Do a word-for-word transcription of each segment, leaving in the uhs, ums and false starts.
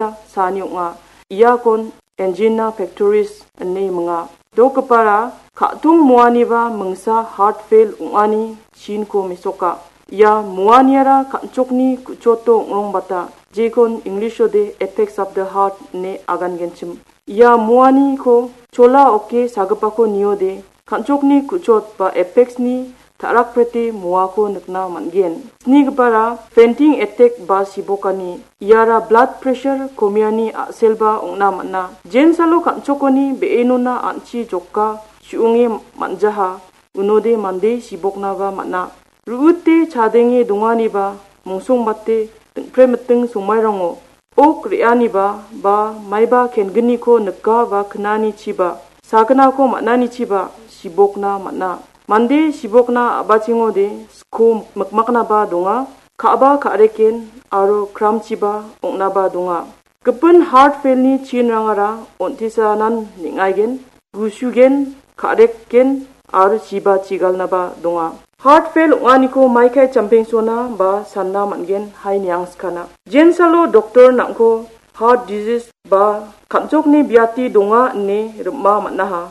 saani ong·a. Iakon angina pectoris ine minga. Dokgipara ka·tong muaniba mingsa heart fail ong·ani chinko mesoka. Ia muaniara kan·chokni ku·choto ong·rongbata, jekon English-ode effects of the heart ine agangenchim. Ia muaniko chola oke sagipako niode, kan·chokni ku·chot ba effects-ni ta·rakprete muako nikna man·gen. Snigipara fainting attack ba sibokani, iara blood pressure komiani a·selba ong·na man·a. Jensalo kan·chokoni be·enona an·chi joka su·onge man·jaha, unode mande siboknaba man·a. Ru·ute chadenge donganiba mongsongbate dingpremiting songmairango ok re·aniba ba maiba kengniko nika ba knanichiba sagnako man·anichiba sibokna man·a. Mande sibokna a·bachengode sko mikmaknaba donga, ka·ba ka·reken aro kramchiba ong·naba donga. Gipin heart fail-ni chinrangara on·tisanan neng·aigen, gusugen, ka·reken aro chiba chigalnaba donga. Heart fail ong·aniko maikai champengsona ba sanna man·gen hai niangskana. Jensalo doktor nang·ko heart disease ba kan·chokni biati donga ine rim·a man·aha.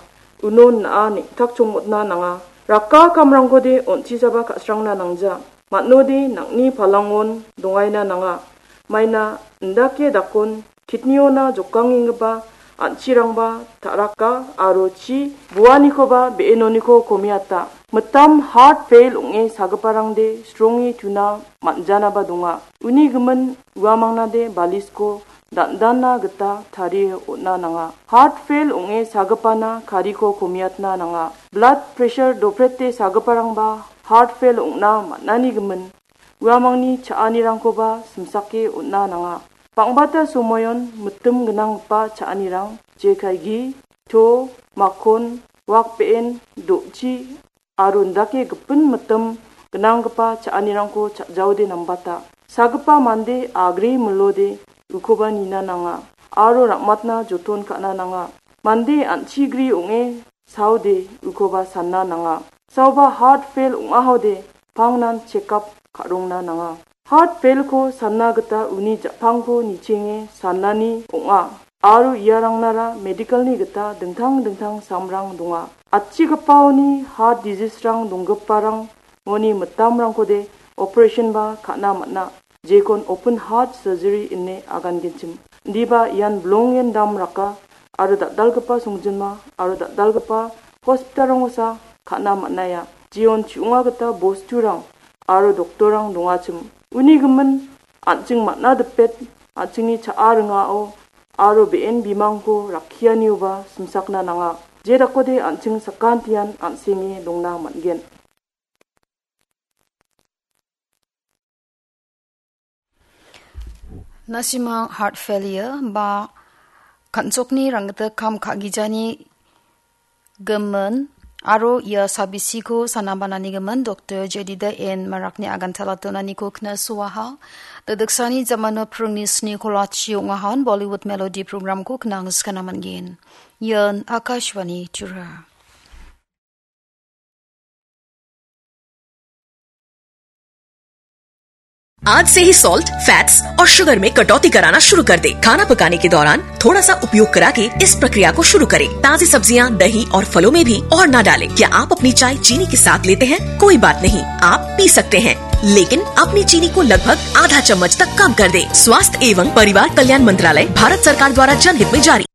Unon na·a neng·takchongmotna nanga. Raka kamrangkode on·tisaba ka·srangna nangja. Man·ode nang·ni palangon dongaina nanga. Maina indake dakon kidney-ona jokangenggipa an·chirangba ta·raka aro chi buanikoba be·enoniko komiata. Mitam heart fail ong·e sagiparangde sronge tuna man·janaba donga. Uni gimin uamangnade balisko dan·dana gita tarie on·na nanga. Heart fail ong·e sagipana kariko komiatna nanga. Blood pressure doprete sagiparangba heart fail ong·na man·ani gimin uamangni cha·anirangkoba simsake on·na nanga. Bang·bata somoion mitim gnanggipa cha·anirang jekai gi, to, makon, wak be·en, do·chi, aro indake gipin mitim gnanggipa cha·anirangko cha·jaode nambata. Sagipa mande agre milode ukoba nina nanga, aro ra·matna joton ka·na nanga. Mande an·chigri ong·e saode ukoba sanna nanga. Saoba heart fail ong·ahode pangnan check up ka·rongna nanga. Heart fail-ko sanna gita uni ja·pangko nichenge sannani ong·a. Aro iarangnara medical-ni gita dingtang dingtang samrang donga. Atchigipaoni heart disease-rang donggiparang moni mitamrangkode operation-ba ka·na man·a. Jekon open heart surgery ine agangenchim. Indiba ian bilongen dam raka aro dal·dalgipa songjinma aro dal·dalgipa hospital-rangosa ka·na man·aia. Jeon chi·onga gita bosturang aro doktorrang dongachim. Uni gimin an·ching man·a dipet, an·chingni cha·a ringao aro be·en bimangko rakkianioba simsakna nanga. Jedakode an·ching sakantian an·senge dongna man·gen. Na·simang heart failure ba kan·chokni ranggita kam ka·gijani gimin aro ia sabisiko sanabanani gimin Doktor Jedida N Marakni agantala donaniko knasuaha. Dadiksani jamano pringni sni kolachi ong·ahan Bollywood Melody programko knangskana man·gen. Ian Akashvani Tura. आज से ही salt, fats और शुगर में कटौती कराना शुरू कर दें। खाना पकाने के दौरान थोड़ा सा उपयोग करा के इस प्रक्रिया को शुरू करें। ताज़ी सब्जियां, दही और फलों में भी और ना डालें। क्या आप अपनी चाय चीनी के साथ लेते हैं? कोई बात नहीं, आप पी सकते हैं, लेकिन अपनी चीनी को लगभग आधा चम्मच तक कम कर दें। स्वास्थ्य एवं परिवार कल्याण मंत्रालय, भारत सरकार द्वारा जनहित में जारी।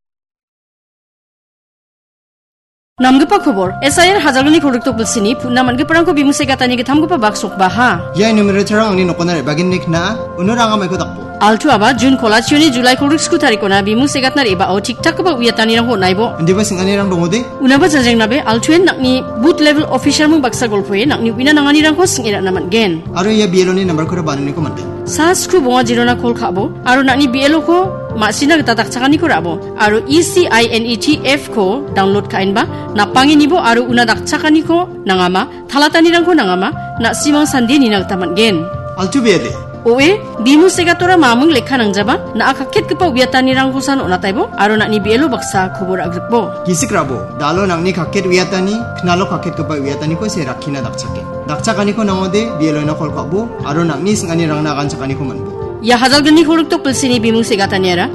Namgipa kobor, S I R hajalgni kolgrikdok bilsini putna man·giparangko bimung segatani gittamgipa bak sokbaha. Ia numerator-rang angni nokona re·bagenni kna·a, uno ranga maiko dakbo. Altu aba June kolachioni July kolgrik sku tarikona bimung segatna re·bao tik-takgipa uiatanirangko on·aibo. Indiba sing·anirang dongode? Unaba janjrengnabe Altuen nang·ni booth level officer-ming baksa golpoe nang·ni uina nanganirangko sing·e ra·na man·gen. Aro ia B L O-ni nambarkora bananiko man·gen. Sa skru bonga jirona kol ka·bo, aro nang·ni B L O-ko ma·sina gita dakchakaniko ra·bo, aro E C I N E T F-ko download ka·enba, napangenibo aro una dakchakaniko nangama, talatanirangko nangama, na·simang sandie nina gita man·gen. Altu bede. Oe, bimung segatora mamung lekka nangjaba, na·a kaketgipa uiatanirangkosan on·ataibo, aro nang·ni B L O baksa kobor agrikbo. Gisik rabo, dalo nang·ni kaket uiatani, knalo kaketgipa uiataniko se rakkina dakchake. Dakchakaniko nangode, B L O-na kol ka·bo, aro nang·ni sing·anirangna aganchakaniko man·bo. Ia hajalgni kolgrikdok bilsini bimung segataniara,